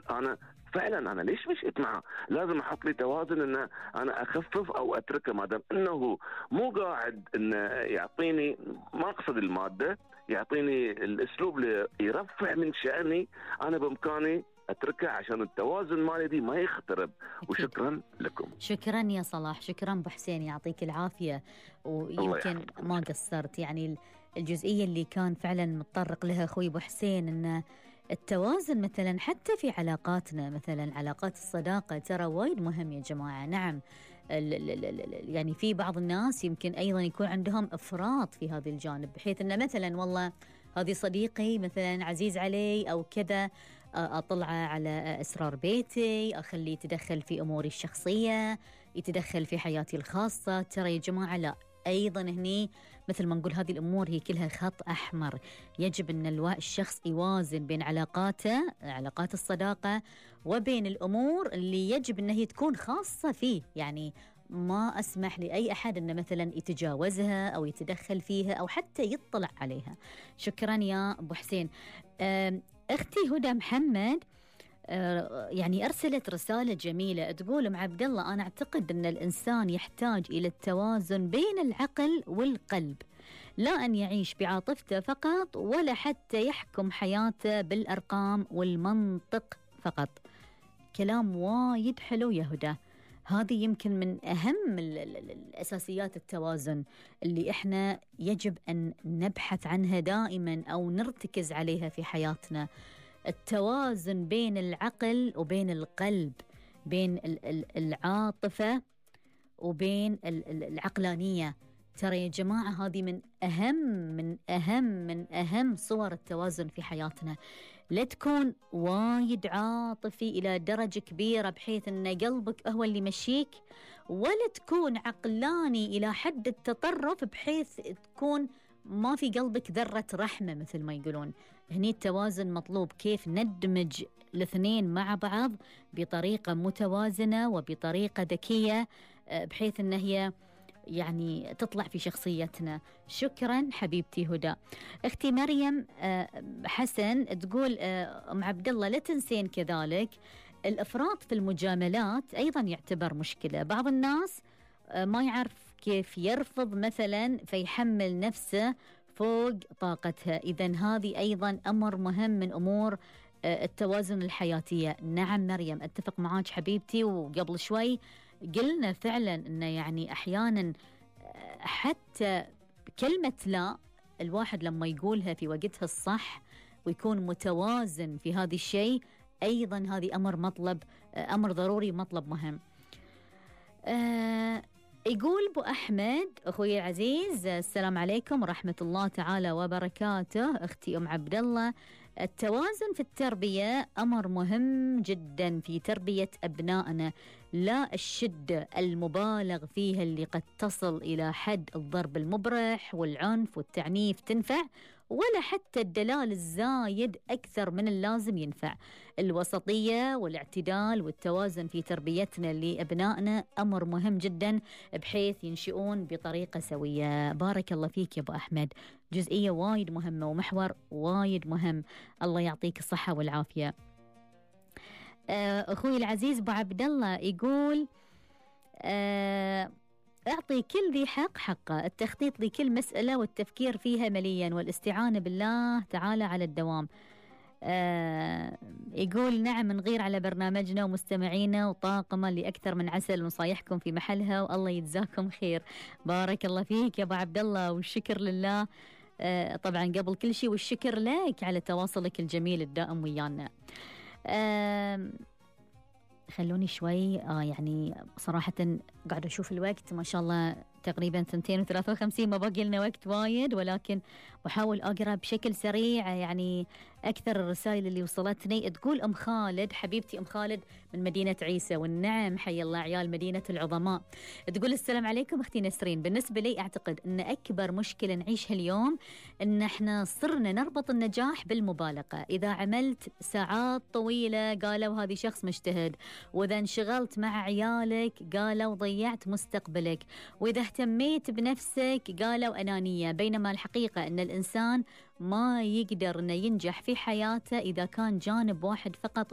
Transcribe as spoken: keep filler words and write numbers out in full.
أنا فعلا أنا ليش مشيت معه؟ لازم أحط لي توازن إن أنا أخفف أو أتركه، ما دام إنه مو قاعد إنه يعطيني، ما أقصد المادة، يعطيني الأسلوب اللي يرفع من شأني، أنا بإمكاني أتركه عشان التوازن مالي دي ما يخترب. وشكرا لكم. شكرا يا صلاح، شكرا أبو حسين، يعطيك العافية. ويمكن ما قصرت، يعني الجزئية اللي كان فعلا متطرق لها أخوي أبو حسين، إن التوازن مثلا حتى في علاقاتنا، مثلا علاقات الصداقة ترى وايد مهم يا جماعة. نعم يعني في بعض الناس يمكن أيضا يكون عندهم إفراط في هذا الجانب، بحيث أن مثلا والله هذه صديقي مثلا عزيز علي أو كذا، أطلع على أسرار بيتي، أخليه يتدخل في أموري الشخصية، يتدخل في حياتي الخاصة. ترى يا جماعة لا، أيضا هني مثل ما نقول هذه الأمور هي كلها خط أحمر. يجب أن الشخص يوازن بين علاقاته، علاقات الصداقة، وبين الأمور اللي يجب أنها تكون خاصة فيه. يعني ما أسمح لأي أحد أنه مثلا يتجاوزها أو يتدخل فيها أو حتى يطلع عليها. شكرا يا أبو حسين. أختي هدى محمد يعني أرسلت رسالة جميلة تقول: أم عبد الله، أنا أعتقد أن الإنسان يحتاج إلى التوازن بين العقل والقلب، لا أن يعيش بعاطفته فقط، ولا حتى يحكم حياته بالأرقام والمنطق فقط. كلام وايد حلو يا هدى. هذه يمكن من أهم الأساسيات التوازن اللي إحنا يجب أن نبحث عنها دائما أو نرتكز عليها في حياتنا. التوازن بين العقل وبين القلب، بين العاطفة وبين العقلانية. ترى يا جماعة هذه من أهم من أهم من أهم صور التوازن في حياتنا. لا تكون وايد عاطفي إلى درجة كبيرة بحيث أن قلبك هو اللي يمشيك، ولا تكون عقلاني إلى حد التطرف بحيث تكون ما في قلبك ذرة رحمة مثل ما يقولون. هني التوازن مطلوب، كيف ندمج الاثنين مع بعض بطريقة متوازنة وبطريقة ذكية بحيث أن هي يعني تطلع في شخصيتنا. شكرا حبيبتي هدى. اختي مريم حسن تقول: ام عبد الله لا تنسين كذلك الافراط في المجاملات ايضا يعتبر مشكلة. بعض الناس ما يعرف كيف يرفض مثلا فيحمل نفسه فوق طاقتها. إذن هذه أيضا أمر مهم من أمور التوازن الحياتية. نعم مريم أتفق معاك حبيبتي، وقبل شوي قلنا فعلا أنه يعني أحيانا حتى كلمة لا الواحد لما يقولها في وقتها الصح ويكون متوازن في هذا الشيء، أيضا هذه أمر مطلب، أمر ضروري، مطلب مهم. أه يقول أبو أحمد أخوي العزيز: السلام عليكم ورحمة الله تعالى وبركاته. أختي أم عبد الله، التوازن في التربية أمر مهم جدا في تربية أبنائنا، لا الشدة المبالغ فيها اللي قد تصل إلى حد الضرب المبرح والعنف والتعنيف تنفع، ولا حتى الدلال الزايد أكثر من اللازم ينفع. الوسطية والاعتدال والتوازن في تربيتنا لأبنائنا أمر مهم جدا بحيث ينشئون بطريقة سوية. بارك الله فيك يا أبو أحمد، جزئية وايد مهمة ومحور وايد مهم. الله يعطيك الصحة والعافية. أخوي العزيز أبو عبد الله يقول: أعطي كل ذي حق حقه، التخطيط لكل مسألة والتفكير فيها مليا، والاستعانة بالله تعالى على الدوام. آه يقول: نعم نغير على برنامجنا ومستمعينا وطاقمة لأكثر من عسل، ونصايحكم في محلها والله يجزاكم خير. بارك الله فيك يا أبو عبد الله، والشكر لله آه طبعا قبل كل شيء، والشكر لك على تواصلك الجميل الدائم ويانا. آه خلوني شوي آه يعني صراحة قاعد أشوف الوقت ما شاء الله تقريبا ثنتين وثلاثة وخمسين، ما باقي لنا وقت وايد، ولكن بحاول أقرأ بشكل سريع يعني أكثر الرسائل اللي وصلتني. تقول أم خالد، حبيبتي أم خالد من مدينة عيسى، والنعم حي الله عيال مدينة العظماء، تقول: السلام عليكم أختي نسرين. بالنسبة لي أعتقد أن أكبر مشكلة نعيشها اليوم أن احنا صرنا نربط النجاح بالمبالغة. إذا عملت ساعات طويلة قالوا هذه شخص مجتهد، وإذا انشغلت مع عيالك قالوا ضيعت مستقبلك، وإذا اهتميت بنفسك قالوا أنانية. بينما الحقيقة أن الإنسان ما يقدر أن ينجح في حياته إذا كان جانب واحد فقط